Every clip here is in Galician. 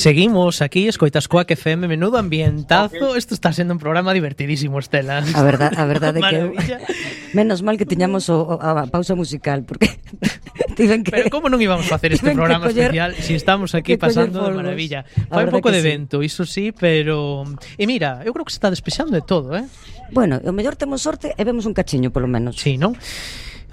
Seguimos aquí, escoitas Coac FM, menudo ambientazo. Isto está sendo un programa divertidísimo, Estela. A verdade é que menos mal que tiñamos a pausa musical, porque tiven que... Pero como non íbamos a facer este programa especial se estamos aquí pasando de maravilla? Fai un pouco de vento, iso sí, pero... E mira, eu creo que se está despexando de todo, eh? Bueno, o mellor temos sorte e vemos un cachiño, polo menos. Sí, non?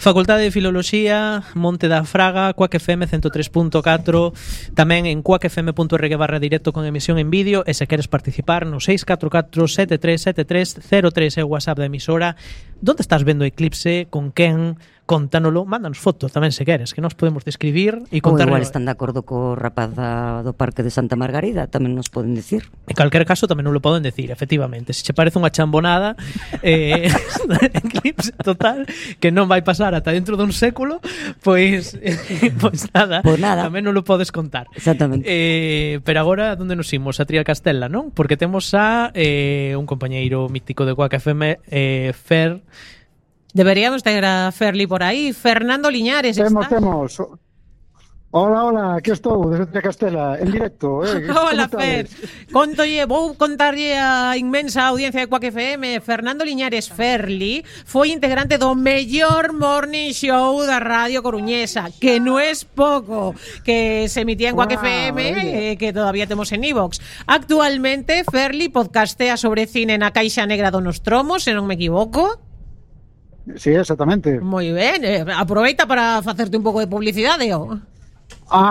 Facultade de Filoloxía, Monte da Fraga, Coac FM 103.4, tamén en coacfm.org/directo con emisión en vídeo, e se queres participar no 644-737303 é o WhatsApp da emisora. Donde estás vendo Eclipse? Con quen? Contánoslo, mándanos fotos tamén se queres, que nos podemos describir e contar. Ou igual están de acordo co rapaz do Parque de Santa Margarida, tamén nos poden decir. En calquer caso tamén non lo poden decir, efectivamente. Se che parece unha chambonada, Eclipse total, que non vai pasar ata dentro dun século, pois nada, tamén non lo podes contar. Exactamente. Pero agora, onde nos imos? A Trial Castela, non? Porque temos a un compañeiro mítico de Coac FM, Fer. Deberíamos ter a Ferli por aí. Fernando Liñares, Temos. Hola, aquí estou, desde Castela, en directo. Hola, Fer. Vou contarlle a inmensa audiencia de Coac FM. Fernando Liñares Ferli foi integrante do mellor morning show da Radio Coruñesa, que non é pouco, que se emitía en Coac FM, que todavía temos en iVox. Actualmente, Ferli podcastea sobre cine na Caixa Negra do Nostromo, se non me equivoco. Sí, exactamente. Moi ben, aproveita para facerte un pouco de publicidade, o?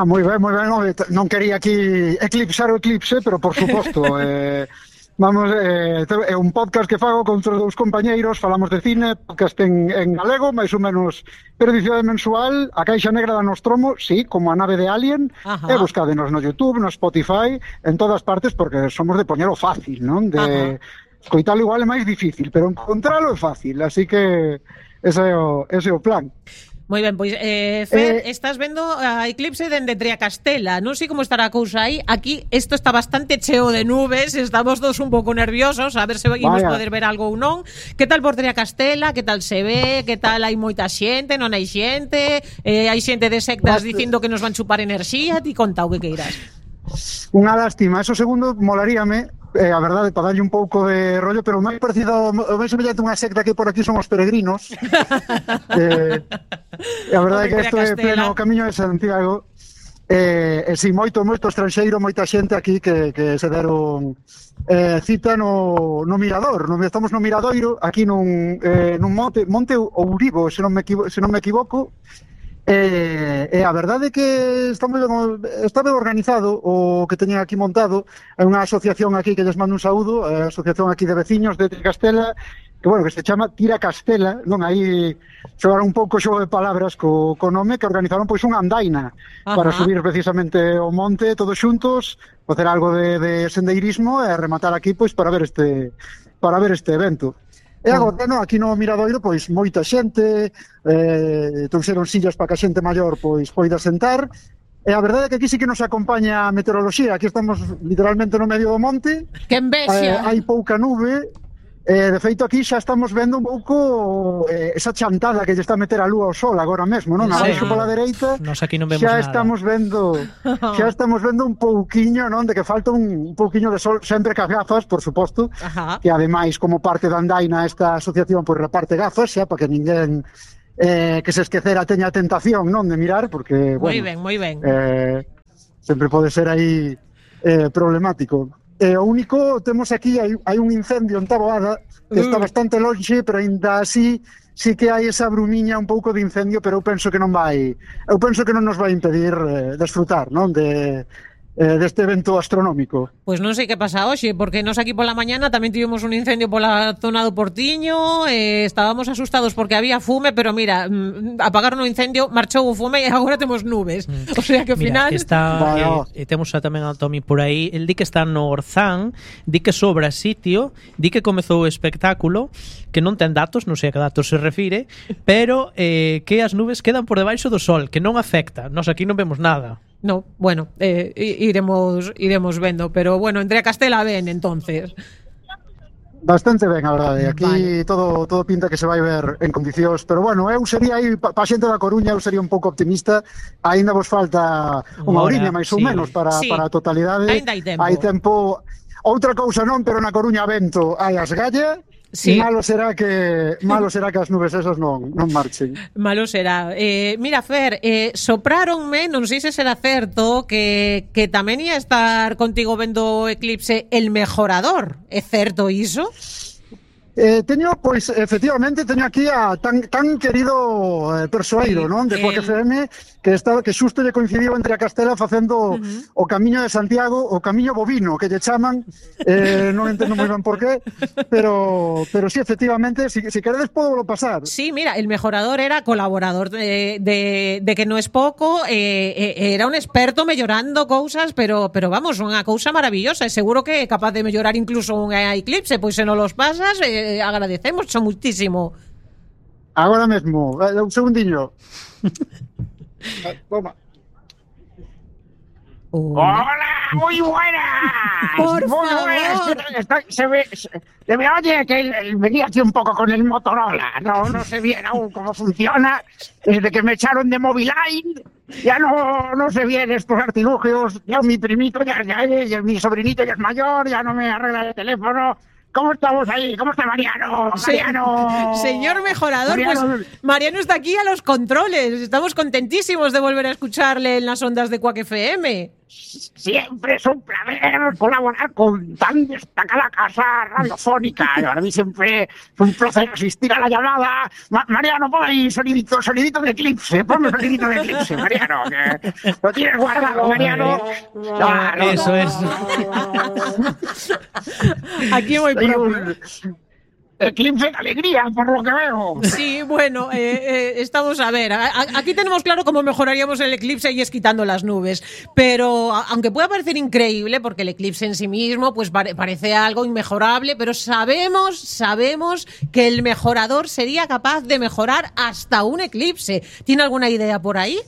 Moi ben, non quería aquí eclipsar o eclipse, pero por suposto, é un podcast que fago con outros dous compañeiros, falamos de cine, podcast en galego, máis ou menos periodicidade mensual, a Caixa Negra da Nostromo, sí, como a nave de Alien, e buscadenos no YouTube, no Spotify, en todas partes, porque somos de poñelo fácil, non? De escoitalo igual é máis difícil, pero encontralo é fácil, así que ese é o plan. Moi ben, pois, Fer, estás vendo a Eclipse dende Triacastela. Non sei como estará a cousa aí. Aquí isto está bastante cheo de nubes, estamos todos un pouco nerviosos, a ver se imos poder ver algo ou non. Que tal por Triacastela? Que tal se ve? Que tal hai moita xente? Non hai xente? Hai xente de sectas dicindo que nos van chupar enerxía? Ti conta o que queiras. Unha lástima, eso segundo molaríame, a verdade, para darlle un pouco de rollo, pero o máis parecido, o máis semellante unha secta que por aquí son os peregrinos. A verdade é que isto é pleno camiño de Santiago. Si, moito estranxeiro, moita xente aquí que se deron cita no Mirador. Estamos no Miradoiro, aquí nun monte Ouribo, se non me equivoco. E a verdade é que está ben organizado o que teña aquí montado. É unha asociación aquí que lles mando un saúdo, a asociación aquí de veciños de Castela, que se chama Tira Castela, non? Aí xogaron un pouco xogo de palabras co nome, que organizaron pois unha andaina para subir precisamente o monte todos xuntos, facer algo de sendeirismo e rematar aquí pois para ver este evento. E agora, aquí no Miradoiro, pois, moita xente, trouxeron sillas para que a xente maior, pois, poida sentar, e a verdade é que aquí sí que nos acompaña a meteoroloxía, aquí estamos literalmente no medio do monte. Que envexa! Hai pouca nube, de feito aquí xa estamos vendo un pouco esa chantada que lle está a meter a lúa ao sol agora mesmo, non? Abaixo pola dereita, nos aquí non vemos nada. Xa estamos vendo un pouquiño, non? De que falta un pouquiño de sol, sempre que as gafas, por suposto, que ademais, como parte da andaina, esta asociación pois reparte gafas, xa, para que ninguén que se esquecera teña a tentación, non? De mirar, porque, bueno, moi ben. Sempre pode ser aí problemático. O único, temos aquí, hai un incendio en Taboada, que está bastante lonxe, pero ainda así sí que hai esa brumiña un pouco de incendio, pero eu penso que non nos vai impedir desfrutar, non? Deste evento astronómico. Pois non sei que pasa hoxe, porque nos aquí pola mañana tamén tivemos un incendio pola zona do Portiño, estábamos asustados porque había fume, pero mira, apagaron o incendio, marchou o fume e agora temos nubes. O sea que ao final... Temos tamén a Tomi por aí, el di que está no Orzán, di que sobra sitio, di que comezou o espectáculo, que non ten datos, non sei a que datos se refire, pero que as nubes quedan por debaixo do sol, que non afecta, nos aquí non vemos nada. No, bueno, iremos vendo, pero bueno, entre a Castela ven, entonces. Bastante ben, a verdade. Aquí Vale. todo pinta que se vai ver en condicións, pero bueno, eu sería aí pa xente da Coruña, eu sería un pouco optimista. Aínda vos falta unha Hora, oriña máis ou sí. menos para Sí. a totalidade. Aínda hai tempo. Hai tempo. Outra cousa non, pero na Coruña vento hai as galla. Sí. Malo será que as nubes esas non marchen. Malo será. Mira, Fer, sopráronme, non sei se será certo, que tamén ia estar contigo vendo o eclipse El Mejorador. É certo iso? Teño, pois, efectivamente, teño aquí a tan querido persoeiro, non? De Quack FM, que xusto lle coincidiu entre a Castela facendo o Camiño de Santiago, o Camiño Bovino, que lle chaman, non entendo moi ben por qué, pero sí, efectivamente, si queredes podo pasar. Sí, mira, El Mejorador era colaborador de que no es pouco, era un experto mellorando cousas, pero vamos, unha cousa maravillosa, e seguro que é capaz de mellorar incluso un eclipse, pois se non los pasas, agradecemos muchísimo. Agora mesmo, un segundiño. Toma. ¡Hola! ¡Muy buenas! Por muy favor. Buenas. Se me oye que venía aquí un poco con el Motorola. No sé bien aún cómo funciona. Desde que me echaron de Moviline, ya no sé bien estos artilugios. Ya mi primito, ya mi sobrinito ya es mayor, ya no me arregla el teléfono. ¿Cómo estamos ahí? ¿Cómo está Mariano? Mariano. Señor Mejorador, Mariano. pues Mariano está aquí a los controles. Estamos contentísimos de volver a escucharle en las ondas de Quack FM. Siempre es un placer colaborar con tan destacada casa radiofónica. Para mí siempre es un placer asistir a la llamada. Mariano, pon ahí sonidito de eclipse. Ponme sonidito de eclipse, Mariano. Que lo tienes guardado, Mariano. Eso es. Aquí voy Soy propio. un eclipse de alegría, por lo que veo. Sí, bueno, estamos a ver. Aquí tenemos claro cómo mejoraríamos el eclipse y es quitando las nubes. Pero aunque pueda parecer increíble, porque el eclipse en sí mismo pues parece algo inmejorable, pero sabemos que el mejorador sería capaz de mejorar hasta un eclipse. ¿Tiene alguna idea por ahí?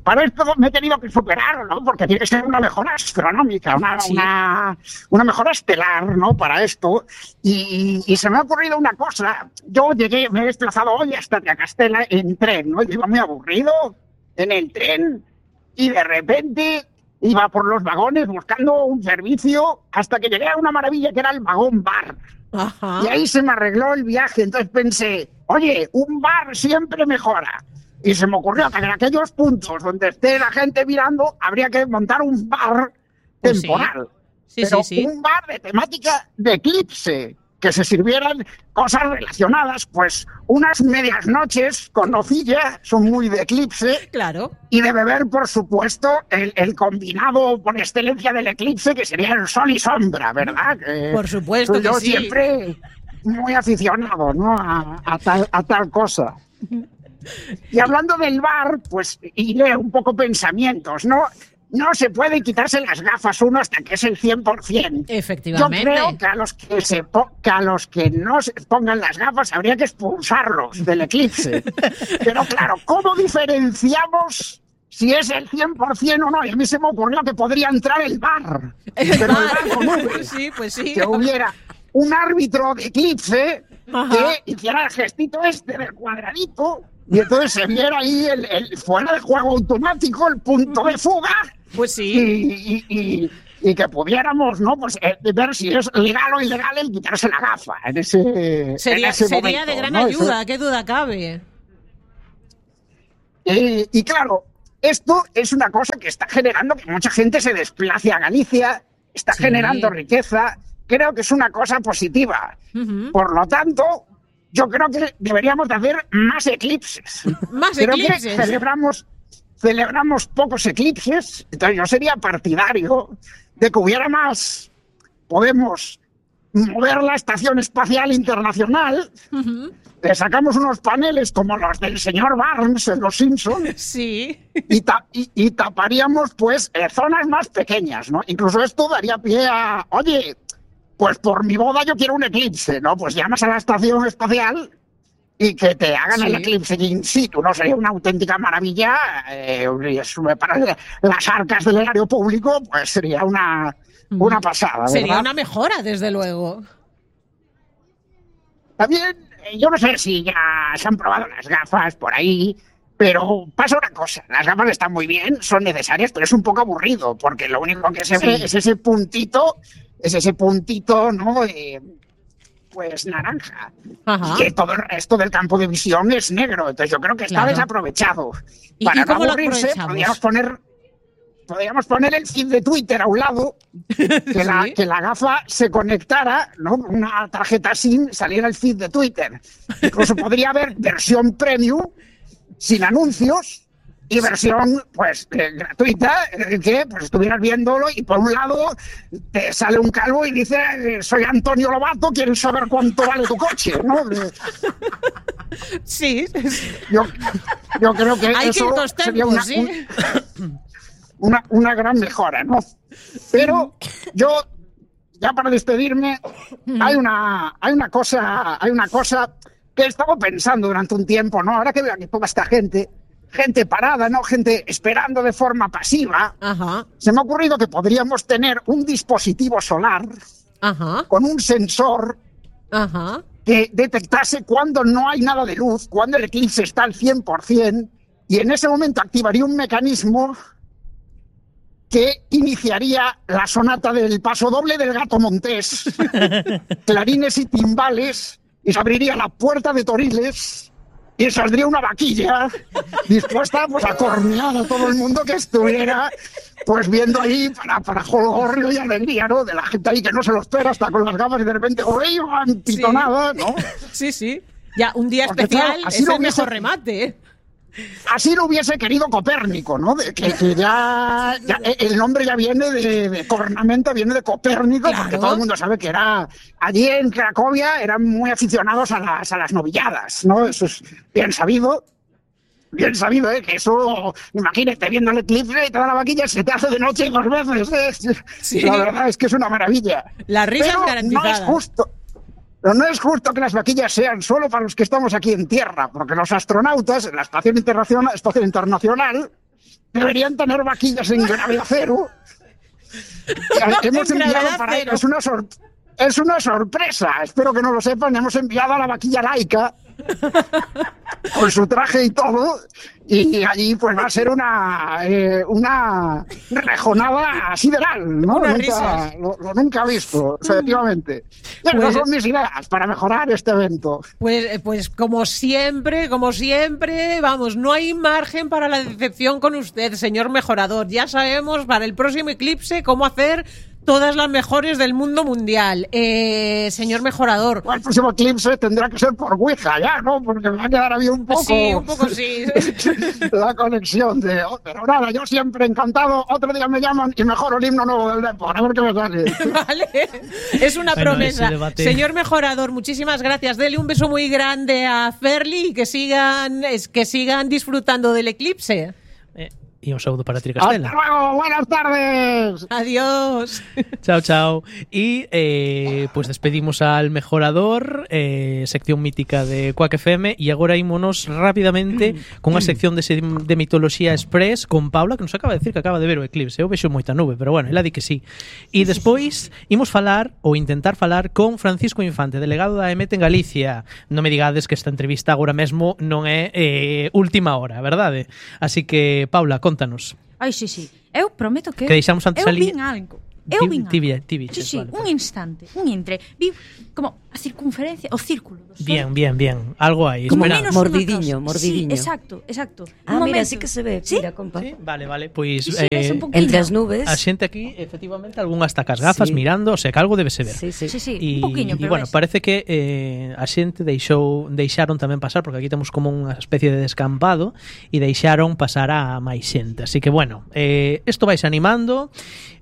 Para esto me he tenido que superar, ¿no? Porque tiene que ser una mejora astronómica, una mejora estelar, ¿no? Para esto. Y se me ha ocurrido una cosa. Yo me he desplazado hoy hasta Tracastela en tren, ¿no? Yo iba muy aburrido en el tren y de repente iba por los vagones buscando un servicio hasta que llegué a una maravilla que era el vagón bar. Ajá. Y ahí se me arregló el viaje. Entonces pensé, oye, un bar siempre mejora. Y se me ocurrió que en aquellos puntos donde esté la gente mirando, habría que montar un bar temporal. Sí, pero sí. un bar de temática de eclipse, que se sirvieran cosas relacionadas, pues unas medias noches con nocilla, son muy de eclipse. Claro. Y de beber, por supuesto, el combinado por excelencia del eclipse, que sería el sol y sombra, ¿verdad? Por supuesto que yo sí. siempre muy aficionado, ¿no? a tal cosa. Y hablando del bar, pues iré un poco pensamientos, ¿no? No se puede quitarse las gafas uno hasta que es el 100%. Efectivamente. Yo creo que a los que no se pongan las gafas habría que expulsarlos del eclipse. Pero claro, ¿cómo diferenciamos si es el 100% o no? Y a mí se me ocurrió que podría entrar el bar. El Pero bar. el bar común. Pues sí. Que hubiera un árbitro de eclipse Ajá. que hiciera el gestito este del cuadradito y entonces se viera ahí el fuera de juego automático, el punto de fuga. Pues sí. Y que pudiéramos, ¿no? Pues ver si es legal o ilegal el quitarse la gafa en ese Sería momento, de gran ¿no? ayuda, qué duda cabe. Y claro, esto es una cosa que está generando que mucha gente se desplace a Galicia, está generando riqueza. Creo que es una cosa positiva. Uh-huh. Por lo tanto, yo creo que deberíamos de hacer más eclipses. Más creo eclipses. Que celebramos pocos eclipses, entonces yo sería partidario de que hubiera más. Podemos mover la Estación Espacial Internacional, le sacamos unos paneles como los del señor Barnes en Los Simpsons. Sí. Y taparíamos, pues, zonas más pequeñas, ¿no? Incluso esto daría pie a, oye, pues por mi boda yo quiero un eclipse, ¿no? Pues llamas a la Estación Espacial y que te hagan el eclipse in situ, ¿no? Sería una auténtica maravilla. Para las arcas del erario público, pues sería una pasada, ¿verdad? Sería una mejora, desde luego. También, yo no sé si ya se han probado las gafas por ahí, pero pasa una cosa, las gafas están muy bien, son necesarias, pero es un poco aburrido, porque lo único que se ve es ese puntito, ¿no? Pues naranja. Ajá. Y que todo el resto del campo de visión es negro, entonces yo creo que está desaprovechado. Para no aburrirse, podríamos poner el feed de Twitter a un lado, que la gafa se conectara, ¿no? Una tarjeta SIM, saliera el feed de Twitter. Incluso podría haber versión premium, sin anuncios, y versión pues gratuita, que pues estuvieras viéndolo y por un lado te sale un calvo y dice: soy Antonio Lobato, ¿quieres saber cuánto vale tu coche? ¿No? Sí. Yo creo que eso sería una gran mejora, ¿no? Pero yo, ya para despedirme, hay una cosa que he estado pensando durante un tiempo, ¿no? Ahora que veo aquí toda esta gente parada, ¿no? Gente esperando de forma pasiva. Ajá. Se me ha ocurrido que podríamos tener un dispositivo solar con un sensor que detectase cuando no hay nada de luz, cuando el eclipse está al 100%, y en ese momento activaría un mecanismo que iniciaría la sonata del paso doble del Gato Montés, clarines y timbales, y se abriría la puerta de Toriles y saldría una vaquilla dispuesta pues a cornear a todo el mundo que estuviera pues viendo ahí para jolgorio y alegría, ¿no? De la gente ahí que no se lo espera, hasta con las gafas y de repente pitonada, ¿no? Sí. Ya, un día porque, especial, claro, es el mejor remate, ¿eh? Así lo hubiese querido Copérnico, ¿no? Que ya el nombre ya viene de cornamenta, viene de Copérnico, claro. Porque todo el mundo sabe que era allí en Cracovia eran muy aficionados a las novilladas, ¿no? Eso es bien sabido, que eso, imagínate, viendo el eclipse y toda la vaquilla se te hace de noche y 2 veces, Sí. La verdad es que es una maravilla. La risa es garantizada. No es justo. Pero no es justo que las vaquillas sean solo para los que estamos aquí en tierra, porque los astronautas en la Estación Internacional deberían tener vaquillas en gravedad cero. Hemos enviado para ellos, es una sorpresa, espero que no lo sepan, hemos enviado a la vaquilla Laica con su traje y todo, y allí pues va a ser una rejonada sideral, ¿no? Nunca visto, efectivamente. Esas son mis ideas para mejorar este evento. Pues como siempre, vamos, no hay margen para la decepción con usted, señor mejorador. Ya sabemos para el próximo eclipse cómo hacer todas las mejores del mundo mundial. Señor mejorador. El próximo eclipse tendrá que ser por Ouija ya, ¿no? Porque me va a quedar ahí un poco sí. La conexión pero nada, yo siempre encantado. Otro día me llaman y mejoro el himno nuevo del Depor. A ver qué me sale. Vale, es una promesa. Señor mejorador, muchísimas gracias. Dele un beso muy grande a Ferli y que sigan disfrutando del eclipse. Y un saludo para ti, Castela. ¡Hasta luego! ¡Buenas tardes! ¡Adiós! Chao. Y pues despedimos al mejorador, sección mítica de Quack FM, e agora ímonos rapidamente con a sección de Mitoloxía Express con Paula, que nos acaba de decir que acaba de ver o eclipse. Eu vexo moita nube, pero bueno, ela di que sí. E despois imos falar ou intentar falar con Francisco Infante, delegado da EMET en Galicia. Non me digades que esta entrevista agora mesmo non é última hora, verdade? Así que, Paula, contanos. Ai, sí. Eu prometo que deixamos antes eu vin algo. Sí, vale, un instante, vi como a circunferencia, o círculo do Sol. Bien, algo aí. Como mordidiño. Sí, exacto. Mira, sí que se ve, ¿sí? Mira, compa. Sí, vale, pois entre as nubes. A xente aquí, efectivamente, algunhas tacas gafas mirando, o sea, que algo debe se ver. Sí, un poquinho, pero bueno, parece que a xente deixaron tamén pasar, porque aquí temos como unha especie de descampado e deixaron pasar a máis xente. Así que bueno, isto vais animando.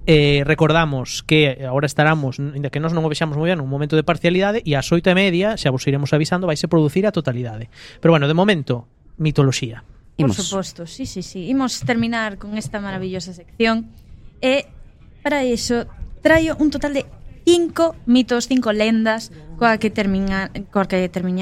Recordamos que agora estaramos, ainda que nós non o vexamos moi ben, un momento de parcialidade, e ás 8:30 xa vos iremos avisando, vaise producir a totalidade. Pero bueno, de momento, mitoloxía. Por suposto, sí. Imos terminar con esta maravillosa sección e para iso traio un total de 5 mitos, 5 lendas coa que terminar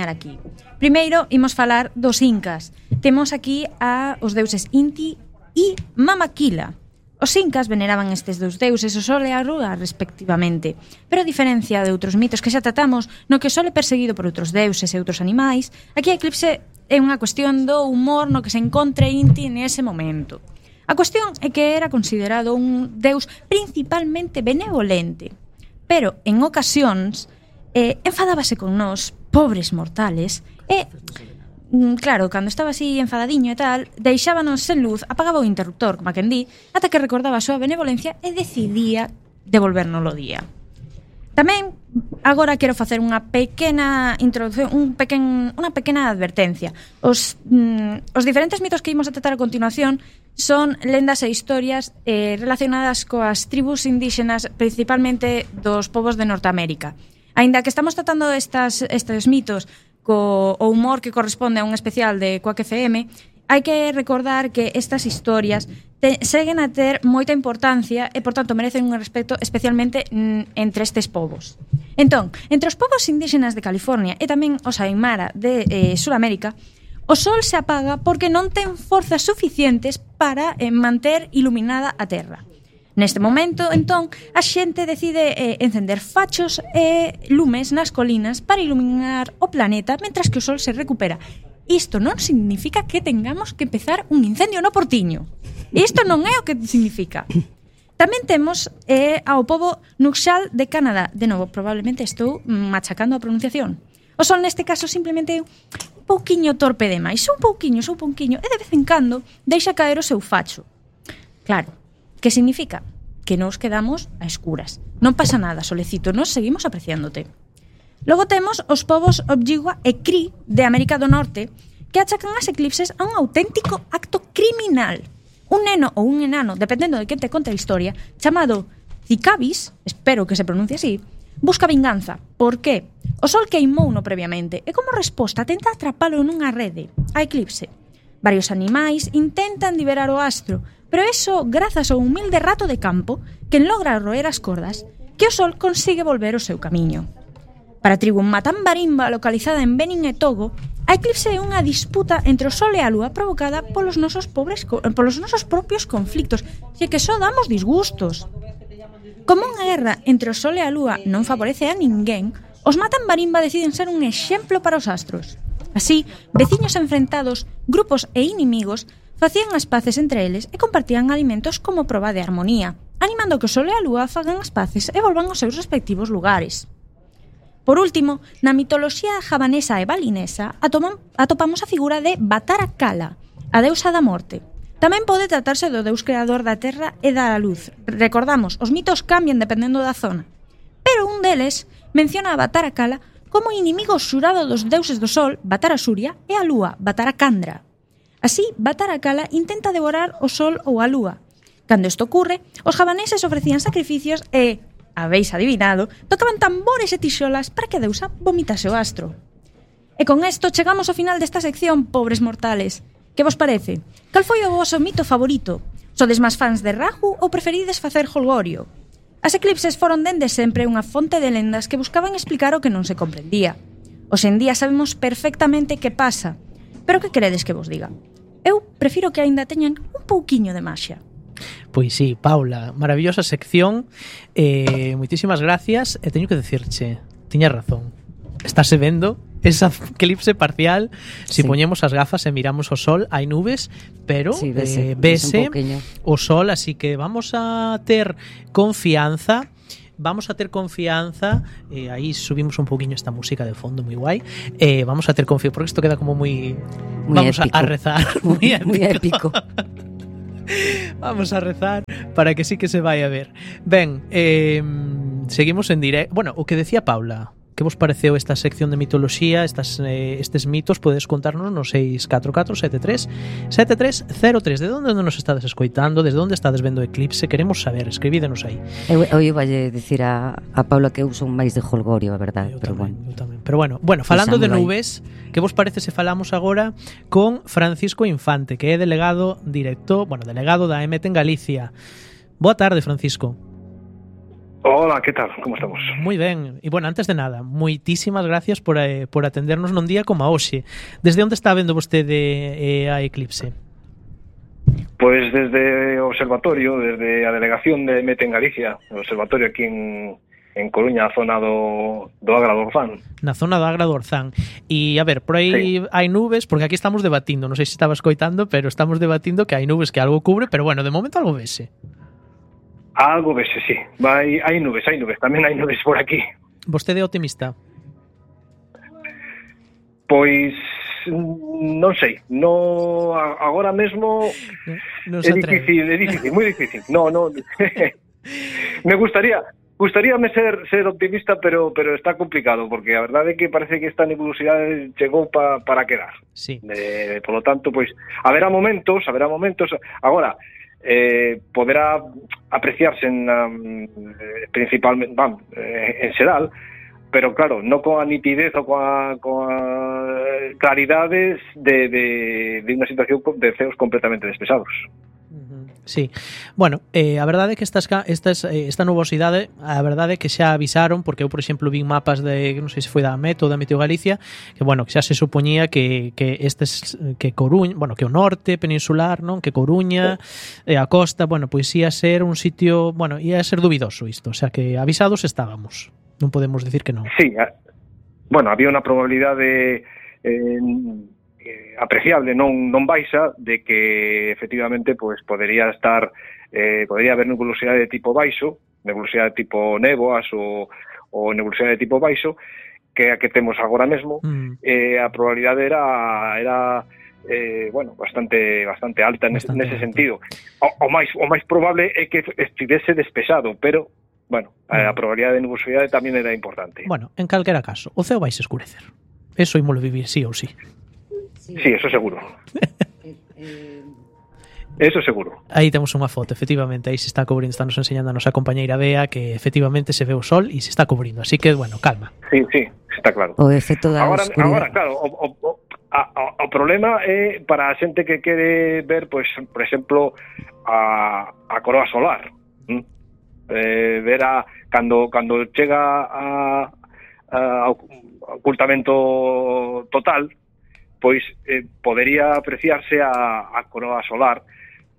aquí. Primeiro, imos falar dos incas. Temos aquí a os deuses Inti e Mamakila. Os incas veneraban estes dous deuses, o Sol e a Lua, respectivamente. Pero a diferencia de outros mitos que xa tratamos, no que o Sol é perseguido por outros deuses e outros animais, aquí a eclipse é unha cuestión do humor no que se encontre Inti nese momento. A cuestión é que era considerado un deus principalmente benevolente, pero en ocasións enfadábase con nós, pobres mortales, e, claro, cando estaba así enfadadiño e tal, deixábanos sen luz, apagaba o interruptor, como a quen di, ata que recordaba a súa benevolencia e decidía devolvernos o día. Tamén, agora quero facer unha pequena introducción, unha pequena advertencia. Os diferentes mitos que imos a tratar a continuación son lendas e historias relacionadas coas tribus indígenas, principalmente dos povos de Norteamérica. Aínda que estamos tratando estes mitos co humor que corresponde a un especial de Quack FM, hai que recordar que estas historias seguen a ter moita importancia e, por tanto, merecen un respecto especialmente entre estes povos. Entón, entre os povos indígenas de California e tamén os Aymara de Suramérica, o Sol se apaga porque non ten forzas suficientes para manter iluminada a Terra. Neste momento, entón, a xente decide encender fachos e lumes nas colinas para iluminar o planeta mentras que o Sol se recupera. Isto non significa que tengamos que empezar un incendio no Portiño. Isto non é o que significa. Tamén temos ao pobo Nuxal de Canadá. De novo, probablemente estou machacando a pronunciación. O Sol neste caso simplemente un pouquiño torpe demais, un pouquiño, e de vez en cando deixa caer o seu facho. Claro, que significa? Que nos quedamos a escuras. Non pasa nada, Solecito, nos seguimos apreciándote. Logo temos os povos Ojibwa e Cree de América do Norte que achacan as eclipses a un auténtico acto criminal. Un neno ou un enano, dependendo de quen te conte a historia, chamado Cicabis, espero que se pronuncie así, busca vinganza. Por qué? O Sol queimouno previamente e como resposta tenta atrapalo nunha rede, a eclipse. Varios animais intentan liberar o astro, pero eso grazas ao humilde rato de campo que logra roer as cordas que o Sol consigue volver o seu camiño. Para a tribu Matambarimba, localizada en Benin e Togo, a eclipse é unha disputa entre o Sol e a Lúa provocada polos nosos propios conflictos, e que só damos disgustos. Como unha guerra entre o Sol e a Lúa non favorece a ninguén, os Matambarimba deciden ser un exemplo para os astros. Así, veciños enfrentados, grupos e inimigos facían as paces entre eles e compartían alimentos como proba de armonía, animando que o Sol e a Lúa fagan as paces e volvan aos seus respectivos lugares. Por último, na mitoloxía javanesa e balinesa atopamos a figura de Batara Kala, a deusa da morte. Tamén pode tratarse do deus creador da terra e da luz. Recordamos, os mitos cambian dependendo da zona. Pero un deles menciona a Batara Kala como inimigo xurado dos deuses do Sol, Batara Surya, e a Lúa, Batara Kandra. Así, Batara Kala intenta devorar o Sol ou a Lúa. Cando isto ocurre, os javaneses ofrecían sacrificios e, habéis adivinado, tocaban tambores e tixolas para que a deusa vomitase o astro. E con isto chegamos ao final desta sección, pobres mortales. Que vos parece? Cal foi o voso mito favorito? Sodes máis fans de Rahu ou preferides facer holgorio? As eclipses foron dende sempre unha fonte de lendas que buscaban explicar o que non se comprendía. Hoxe en día sabemos perfectamente que pasa. Pero que queredes que vos diga? Eu prefiro que aínda teñan un pouquiño de maxia. Pois sí, Paula, maravillosa sección, moitísimas gracias, e teño que decirche, tiñas razón, estáse vendo esa eclipse parcial, si poñemos as gafas e miramos o Sol, hai nubes, pero sí, vese o Sol, así que vamos a ter confianza, aí subimos un poquinho esta música de fondo moi guai, vamos a ter confianza, porque isto queda como moi vamos épico. A rezar, moi épico. Vamos a rezar para que sí que se vai a ver. Ben, seguimos en directo. Bueno, o que decía Paula, que vos pareceu esta sección de mitoloxía, estes mitos, podedes contarnos no 644737303. De onde nos estades escoitando? Desde onde estades vendo o eclipse? Queremos saber, escribídenos aí. Eu iballe dicir a Paula que eu son máis de holgorio, a verdade. Eu tamén. Pero bueno, falando de nubes, que vos parece se falamos agora con Francisco Infante, que é delegado da EMET en Galicia. Boa tarde, Francisco. Hola, ¿qué tal? ¿Cómo estamos? Moi ben. E, bueno, antes de nada, moitísimas gracias por atendernos nun día como a hoxe. Desde onde está vendo vostede a eclipse? Pois desde o observatorio, desde a delegación de Mete en Galicia, o observatorio aquí en Coruña, a zona do Agra do Orzán. Na zona do Agra do Orzán. E, a ver, por aí hai nubes, porque aquí estamos debatindo, non sei se estaba escoitando, pero estamos debatindo que hai nubes que algo cubre, pero bueno, de momento algo vese. Algo vese, sí. Hai nubes, tamén hai nubes por aquí. Vostede é optimista? Pois non sei, agora mesmo é difícil, moi difícil. No. Me gustaríame ser optimista, pero está complicado, porque a verdade é que parece que esta nebulosidade chegou para quedar. Sí. Por lo tanto, pois haberá momentos. Agora, poderá apreciarse principalmente en xeral, pero claro, non coa nitidez ou coa claridades de unha situación de ceos completamente despesados. Sí. Bueno, a verdade é que esta nubosidade, a verdade é que xa avisaron, porque eu, por exemplo, vi mapas de, non sei se foi da Met ou da Meteo Galicia, que, bueno, que xa se supoñía que Coruña, bueno, que o norte peninsular, non, que Coruña, a costa, bueno, pois ia ser un sitio, bueno, ia ser dubidoso isto, o sea, que avisados estábamos. Non podemos decir que non. Sí, bueno, había unha probabilidade apreciable, non baixa, de que efectivamente pois podría haber nebulosidade de tipo baixo, nebulosidade de tipo néboas ou nebulosidade de tipo baixo, que a que temos agora mesmo. A probabilidade era bastante alta nese sentido. O máis probable é que estivese despexado, pero bueno, a probabilidade de nubosidade tamén era importante. Bueno, en calquera caso, o ceo vai se escurecer. Eso ímolo vivir sí ou sí. Sí, eso seguro. Eso seguro. Aí temos unha foto, efectivamente, aí se está cubrindo, está nos enseñando a nosa compañeira Bea que efectivamente se ve o sol e se está cubrindo, así que, bueno, calma. Sí, está claro. O efecto da oscuridade. Agora, claro, o problema é para a xente que quere ver, pois, por exemplo, a coroa solar. Ver cando chega ao ocultamento total, pois podería apreciarse a coroa solar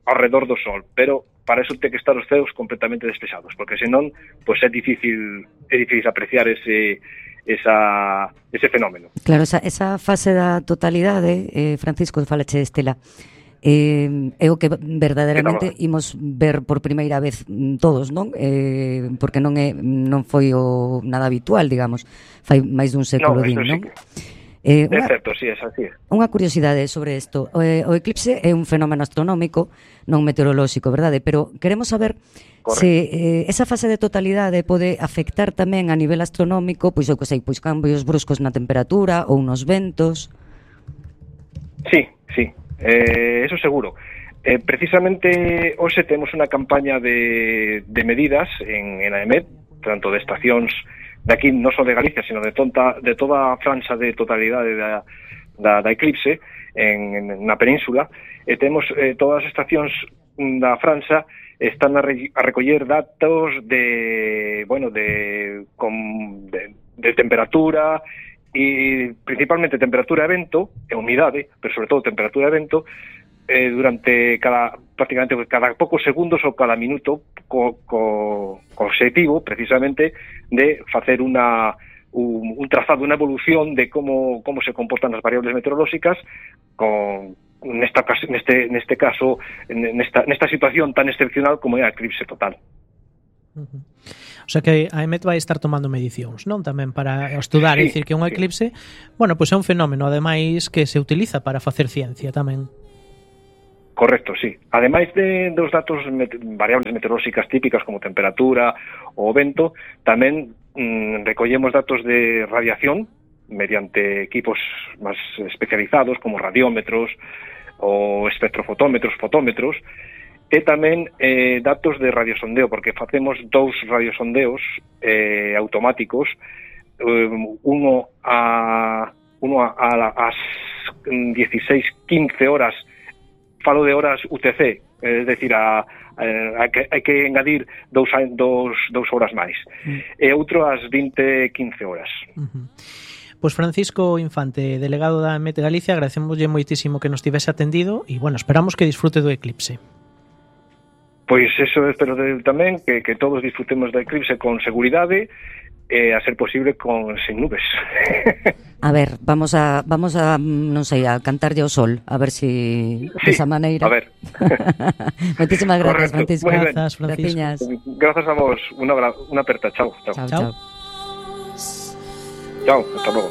ao redor do sol, pero para eso ten que estar os ceos completamente despexados, porque senón pois é difícil apreciar ese fenómeno. Claro, esa fase da totalidade, Francisco, falache de Estela, é o que verdadeiramente imos ver por primeira vez todos, non? Porque non foi nada habitual, digamos, fai máis dun século din, non? É certo, sí, es así. Unha curiosidade sobre isto. O eclipse é un fenómeno astronómico, non meteorolóxico, verdade? Pero queremos saber se esa fase de totalidade pode afectar tamén a nivel astronómico, pois pois cambios bruscos na temperatura ou nos ventos. Sí, eso seguro. Precisamente hoxe temos unha campaña de medidas en AEMET, tanto de estacións de aquí, non só de Galicia, sino de toda a franxa de totalidade da eclipse na península, e temos todas as estacións da franxa están a recoller datos de temperatura e principalmente temperatura e vento e humidade, pero sobre todo temperatura e vento durante prácticamente cada poucos segundos ou cada minuto co obxectivo precisamente de facer un trazado, unha evolución de como se comportan as variables meteorolóxicas nesta situación tan excepcional como é a eclipse total. O sea que a EMET vai estar tomando medicións, non? Tamén para estudar, é dicir que un eclipse, bueno, pois é un fenómeno ademais que se utiliza para facer ciencia tamén. Correcto, sí. Ademais dos datos variables meteorolóxicas típicas como temperatura ou vento, tamén recollemos datos de radiación mediante equipos máis especializados como radiómetros ou espectrofotómetros, fotómetros, e tamén datos de radiosondeo, porque facemos 2 radiosondeos automáticos, uno a las 16-15 horas falo de horas UTC, es decir, hai que engadir 2 horas máis. E outro ás 20-15 horas. Pois Francisco Infante, delegado da Met Galicia, agradecémoslle moitísimo que nos tivese atendido e, bueno, esperamos que disfrute do eclipse. Pois eso espero tamén, que todos disfrutemos do eclipse con seguridade e, a ser posible, sen nubes. A ver, vamos a non sei, a cantarlle ao sol, a ver si desa maneira. A ver. Moitísimas gracias, Francisco. Grazas, Francisco. Grazas a vos. Unha aperta. Chao. Chao. Chao, hasta logo.